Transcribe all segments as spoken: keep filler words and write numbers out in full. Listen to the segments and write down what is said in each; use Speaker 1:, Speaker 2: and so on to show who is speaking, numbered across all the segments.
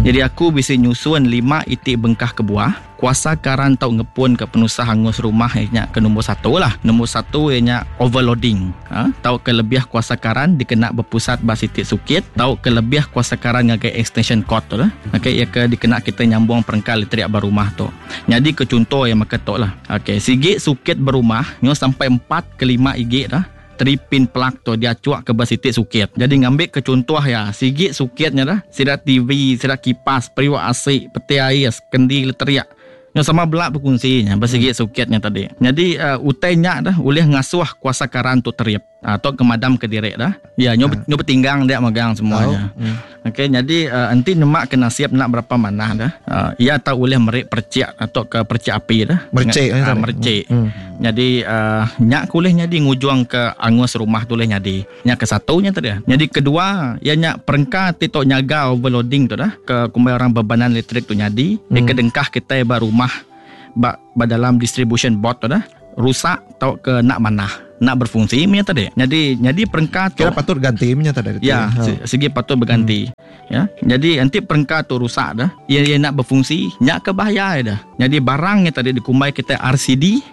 Speaker 1: Jadi aku bisi nyusun lima iti bengkah kebuah kuasa karan tau ngepun ke penusah angus rumah nya ke nombor satu lah. Nombor satu ianya overloading. Ha? Tau ke lebih kuasa karan dikena berpusat ba siti sukit, tau ke lebih kuasa karan ngagai extension cord tu lah. Okey, ia ke dikena kita nyambung perengka elektrik ba rumah tu. Jadi ke contoh yang maka tu lah. Okey, sigi sukit berumah nyo sampai empat ke lima igi dah. Three pin plug tu dia cuak ke bas siti sukit. Jadi ngambil ke contoh ya, sigi sukitnya dah, sida T V, sida kipas, periuk A C, peti ais, kendi elektrik. Yang sama belak berkongsinya bersegi sukitnya tadi. Jadi uh, utainya dah boleh ngasuh kuasa karan tu terip atau uh, kemadam ke direk dah. Ya nyo ha. Nyo bertinggang dia megang semuanya. Hmm. Okey, jadi uh, enti nemak kena siap nak berapa mana dah. Uh, ia tak boleh merik percik atau ke percik api dah.
Speaker 2: Mercik
Speaker 1: uh, mercik. Hmm. Jadi uh, nyak kulih nyadi ngujuang ke angus rumah tu leh nyadi. Nyak ke satunya tadi. Jadi kedua, ia nyak perengka ti tok nyaga overloading tu dah ke kumbai orang bebanan elektrik tu nyadi. Hmm. Ke dengkah kita ba rumah ba, ba dalam distribution board tu dah rusak atau ke nak manah nak berfungsi punya tadi. Jadi jadi perengka tu
Speaker 2: kira patut ganti punya tadi.
Speaker 1: Ya, ha. Segi patut berganti. Hmm. Ya. Jadi nanti perengka tu rusak dah, ia, ia nak berfungsi, nyak ke bahaya dah. Jadi barangnya tadi dikumbai kita R C D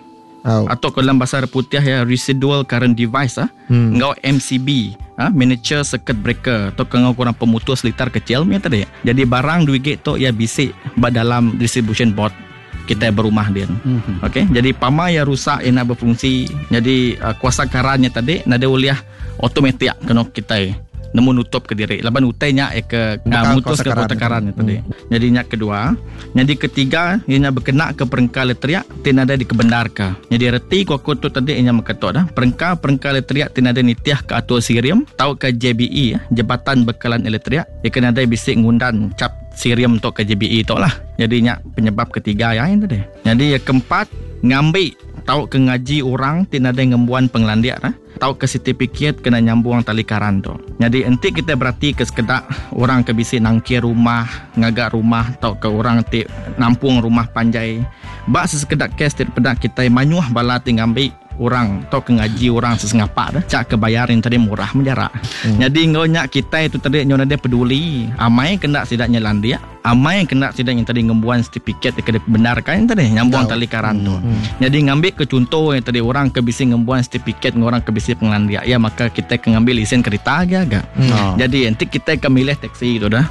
Speaker 2: oh.
Speaker 1: atau ke dalam bahasa putih ya residual current device ah, hmm. Ngau M C B, ha, miniature circuit breaker atau ke ngau kurang pemutus litar kecil punya tadi. Jadi barang duit gate tu ia bisik ba dalam distribution board kita berumah dia. Mm-hmm. Okey, jadi pama yang rusak yang nak berfungsi, jadi uh, kuasa karannya tadi nada uliah automatik kena kita nemu nutup ke diri. Laban utainya eh ke uh, mutus ke kuasa karan tadi. Mm. Jadi nyak kedua, jadi ketiga ianya berkena ke perengka elektrik tinada dikebenarkan. Jadi reti ku aku tu tadi ianya meketok dah. Perengka-perengka elektrik tinada nitiah ke atur sirium tau ke J B E Jabatan Bekalan Elektrik, ia kena ada bisik ngundan cap sirium untuk ke J B E tu lah. Jadi nyak penyebab ketiga ya yang tadi. Jadi yang keempat ngambil tau ke ngaji orang tinada ngembuan penglandiak lah. Tau ke sertifikat kena nyambung tali karan tu. Jadi enti kita berarti ke sekedak orang ke bisi nangkir rumah, ngagak rumah tau ke orang ti nampung rumah panjai. Bak sesekedak kes ti pedak kita manyuh bala ti ngambil orang tau ke ngaji orang sesengapak dah. Cak ke bayar yang tadi murah menjarak. Hmm. Jadi ngonya kita itu tadi nyonya dia peduli. Amai kena sidaknya landia, amai kena sidak yang tadi ngembuan sertifikat ke benarkan yang tadi nyambung tali karan tu. Hmm. Jadi ngambil ke contoh yang tadi orang ke bisi ngembuan sertifikat orang ke bisi penglandia ya maka kita ke ngambil lisen kereta agak. Hmm. Jadi nanti kita ke milih taksi tu dah.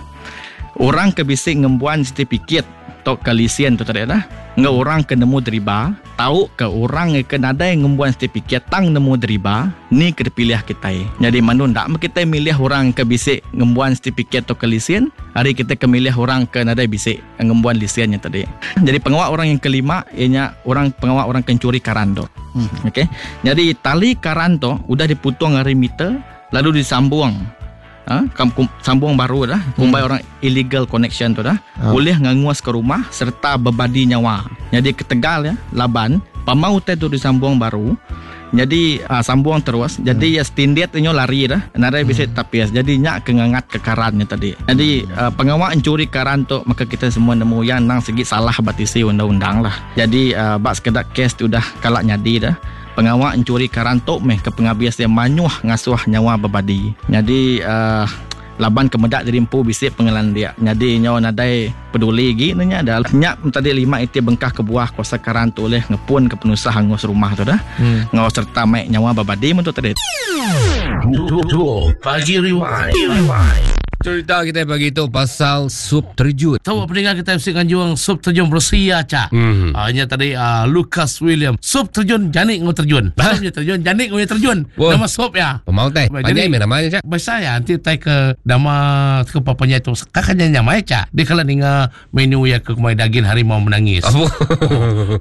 Speaker 1: Orang ke bisi ngembuan sertifikat tok ke lisen tu tadi dah. Nge orang ke nemu deriba, tahu ke orang ke nadai ngembuan sertifikat tang nemu deriba, ni ke dipilih kita. Jadi manu ndak kita milih orang ke bisik ngembuan sertifikat atau ke lisen, hari kita ke milih orang ke nadai bisik ngembuan lisennya tadi. Jadi pengawal orang yang kelima ianya orang pengawal orang kencuri karan tu. Hmm. Okey. Jadi tali karan tu udah diputung hari meter lalu disambung. Ha, sambung baru dah, kumbai hmm. orang illegal connection tu dah. Oh. Boleh nganguas ke rumah serta berbadi nyawa. Jadi ketegal ya, laban pamau tu disambung baru. Jadi uh, sambung terus. Jadi hmm. ya standard nyo lari dah. Nadai bisa hmm. tapias. Jadi nyak ke ngangat ke karannya tadi. Jadi uh, pengawal mencuri karan tu maka kita semua nemu yang nang segi salah batisi undang-undang lah. Jadi uh, bak sekedak kes tu dah kalak nyadi dah. Pengawal mencuri karan tok meh ke penghabis dia manyuh ngasuh nyawa berbadi. Jadi uh, laban kemedak jadi empu bisik pengelan dia. Jadi nyawa nadai peduli lagi nanya dah. Nyak tadi lima iti bengkah ke buah kuasa karan tu oleh ngepun ke penusah hangus rumah tu dah. Hmm. Ngau serta mai nyawa berbadi untuk tadi.
Speaker 3: Pagi Rewind. Rewind.
Speaker 4: Cerita kita pagi tu pasal sup terjun.
Speaker 3: Tahu pendengar kita mesti nganjuang sup terjun berusia cak. Mm-hmm. Uh, ini tadi uh, Lucas William. Sup terjun janik ngau terjun. Sup terjun janik ngau terjun. Wah. Nama sup ya.
Speaker 4: Pemau teh. Panjang mana namanya cak?
Speaker 3: Biasa ya nanti tai ke nama ke papanya tu. Kakaknya nyamai cak. Dia kalau dengar menu ya ke kumai daging harimau menangis.
Speaker 4: Oh,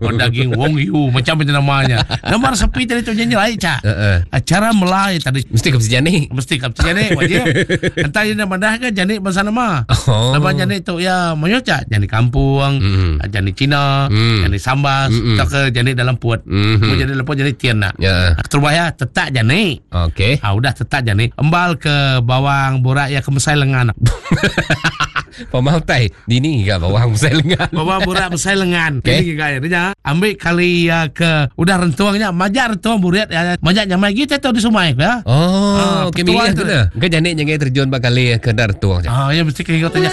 Speaker 3: oh daging wong yu macam itu namanya. Nama resepi tadi tu nyanyi lain cak.
Speaker 4: Uh-uh.
Speaker 3: Acara Melai tadi.
Speaker 4: Mesti ke janik.
Speaker 3: Mesti ke janik wajib. Entah dia nama dah kan janik bangsa nama.
Speaker 4: Oh.
Speaker 3: Nama janik tu ya mayo cak janik kampung,
Speaker 4: mm.
Speaker 3: janik Cina,
Speaker 4: mm.
Speaker 3: janik Sambas,
Speaker 4: mm-mm.
Speaker 3: tak ke janik dalam puat.
Speaker 4: Mm-hmm.
Speaker 3: Mau janik dalam puat janik tian nak.
Speaker 4: Yeah.
Speaker 3: Terubah ya tetak janik.
Speaker 4: Okey.
Speaker 3: Ah udah tetak janik. Embal ke bawang borak ya ke mesai lengan.
Speaker 4: Pemautai dini ke bawang mesai lengan.
Speaker 3: Bawang borak mesai lengan.
Speaker 4: Okay.
Speaker 3: Ini gaya dia. Ambil kali ya ke udah rentuangnya majak rentuang buriat ya majak nyamai kita tahu di sungai ya.
Speaker 4: Oh,
Speaker 3: Ah,
Speaker 4: okey milih
Speaker 3: petuang
Speaker 4: tu
Speaker 3: tu.
Speaker 4: dah. Ke janik jangan terjun bakal ke dar tuang.
Speaker 3: Ah ya mesti kena tanya